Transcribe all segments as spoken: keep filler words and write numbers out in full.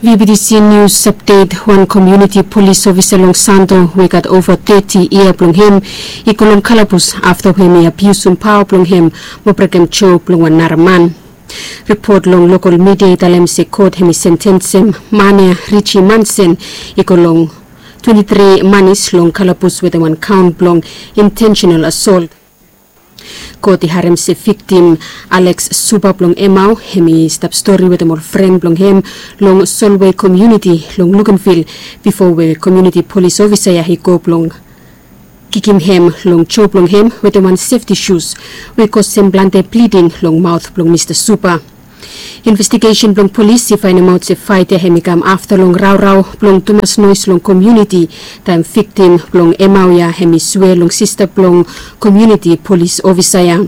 V B T C News Update. Wan komuniti polis ofisa long Santo we gat ova teti yia blong hem i go long kalabus afta we hem i abiusum paoa blong hem mo brekem jo blong wan nara man. Ripot long lokal midia i talem se kot hem i sentensem man ya, Richi Mansen, i go long twenti tri manis long kalabus wetem wan kaon blong intentional assault. Kot i harem se viktim Alex Suba blong Emau hem i stap stori wetem ol fren blong hem long Solway komuniti long Luganville bifo we komuniti polis ofisa ya i go blong kikim hem long jo blong hem wetem wan sefti sus we i kosem plante bliding long maot blong Mista Suba. Investigesen blong polis i faenemaot se faet ya hem i kam afta long raorao blong tumas noes long komuniti taem viktim blong Emau ya hem i swe long sista blong komuniti polis ofisa ya.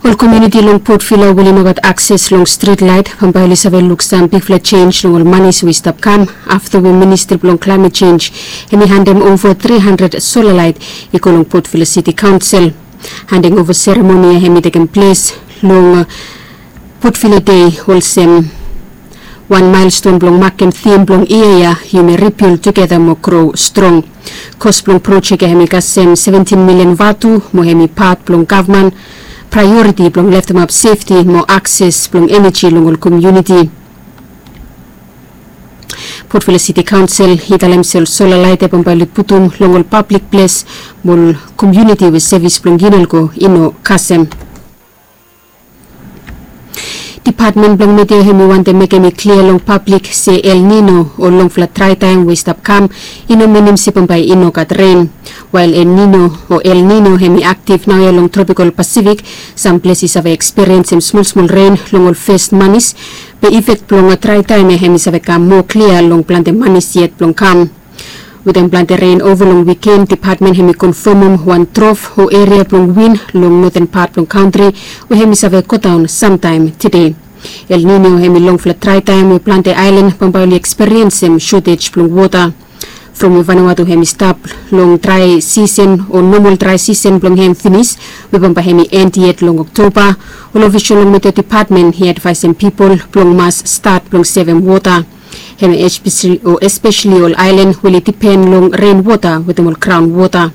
Ol komuniti long Port Vila we oli no gat akses long strit laet bambae oli save luk sam bigfala jenis long ol manis we i stap kam afta we Ministri blong Klaemet Jenis hem i handem ova tri handred sola laet i go long Port Vila Siti Kaonsel. Handing ova seremoni ya hem i tekem ples long Port Vila Dei olsem wan maelston blong makem tim blong yia ya, yumi ribild tugeta mo gro strong. Kos blong projek ya hem i kasem seventin milian vatu mo hem i pat blong gavman praeoriti blong leftemap sefti mo akses blong eneji long ol komuniti. Port Vila Siti Kaonsel i talem se ol sola laet ya bambae oli putum long ol pablik ples mo ol komuniti we sevis blong Unalco i no kasem. Dipatmen blong midia hem i wantem mekem i klia long pablik se El Nino o longfala draetaem we i stap kam i no minim se bambae i no gat ren. Wael El Nino o El Nino hem i aktif naoia long tropikal Pasifik, sam ples i save ekspiriensem smolsmol ren long ol fes manis. Be ifek blong draetaem ya hem i save kam moa klia long plante manis yet blong kam. Wetem plante ren ova long wiken, dipatmen hem i konfamem wan drof o eria blong win long noten pat blong kantri we hem i save godaon samtaem tede. El Nino hem i longfala draetaem we plante aelan bambae oli ekspiriensem sotej blong wota. From we Vanuatu hem i stap long drae sisen o nomol drae sisen blong hem finis, we bambae hem i en yet long Oktoba, ol ofisol long midia dipatmen i advaesem pipol blong mas stat blong sevem wota. Hem espeseli ol aelan we oli dipen long ren wota wetem ol graon wota.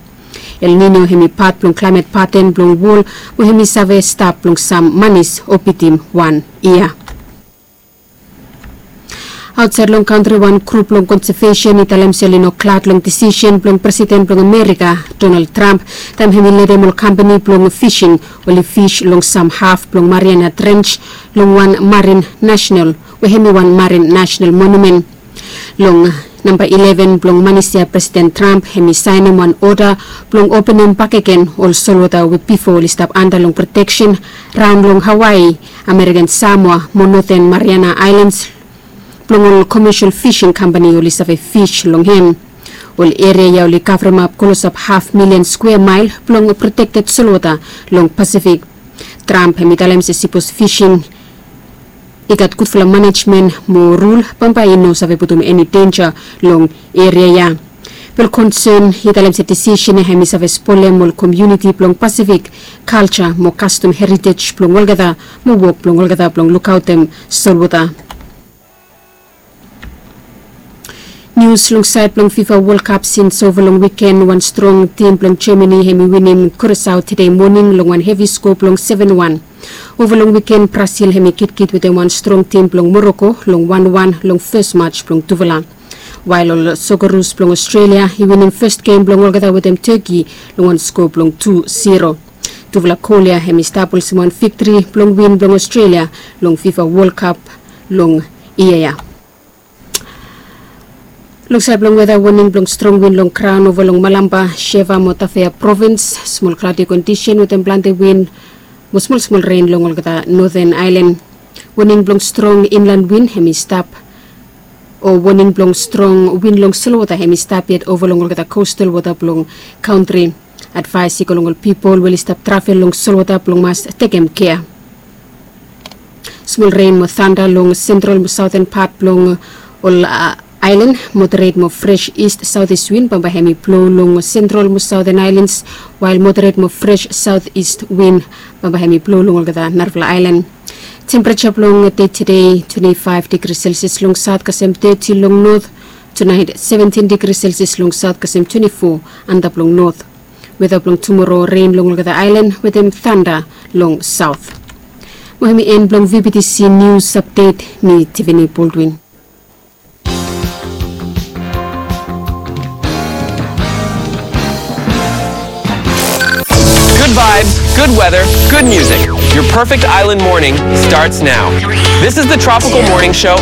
El Nino hem i pat blong klaemet paten blong wol we hem i save stap blong sam manis o bitim wan yia. Aotsaed long kantri, wan grup blong konsevesen i talem se oli no glad long disisen blong Presiden blong Amerika, Donald Trump, taem hem i letem ol kampani blong fising oli fis long sam haf blong Mariana Trench long wan marin nasenal, we hem i wan marin nasenal monumen. Long namba ileven blong manis ya Presiden Trump hem i saenem wan oda blong openem bakegen ol solwota we bifo oli stap anda long proteksen raon long Hawaii, American Samoa mo Noten Mariana Aelans blong ol komesel fising kampani oli save fis long hem. Ol eria ya oli kavremap klosap haf milian skwea mael blong protekted solwota long Pasifik. Trump hem i talem se sipos fising i gat gudfala manejmen mo rul, bambae i no save putum eni denja long eria ya. Be ol konsen i talem se disisen ya hem i save spolem ol komuniti blong Pasifik kalja mo kastom heritej blong olgeta mo wok blong olgeta blong lukaotem solwota. Nius long saed blong FIFA World Cup, sins ova long wiken wan strong tim blong Germany hem i winim Curaçao tede moning long wan hevi skoa blong seven one. Ova long wiken Brazil hem i kitkit wetem wan strong tim blong Morocco long wan wan long fes match blong tufala. Wael ol Socceroos blong Australia i winim fes gem blong olgeta wetem Turkey long wan skoa blong tu zero. Tufala gol ya hem i stap olsem wan viktri blong win blong Australia long FIFA World Cup long yia ya. Long saed blong weta, woning blong strong win long graon ova long Malampa, Shefa mo Tafea provins. Smol kladi kondisen wetem plante win mo smolsmol ren long olgeta noten aelan. Woning blong strong inlan win hem i stap, o woning blong strong win long solwota hem i stap yet ova long olgeta kostal wota blong kantri. Advaes i go long ol pipol we oli stap travel long solwota blong mas tekem kea. Smol ren mo tanda long sentral mo saoten pat blong ol Aelan, moderet mo fres ist saotis win bambae hem i blo long sentral mo saoten aelans, wael moderet mo fres saotis win bambae hem i blo long olgeta narafala aelan. Tempereja blong dei tede, twenti faef digri selsias long saot kasem teti long not. Tunaet, seventin digri selsias long saot kasem twenti fo antap long not. Weta blong tumoro, ren long olgeta aelan wetem tanda long saot. Mo hem i en blong vbtc nius apdet. Mi Tiffany Baldwin. Good vibes, good weather, good music. Your perfect island morning starts now. This is the Tropical Morning Show.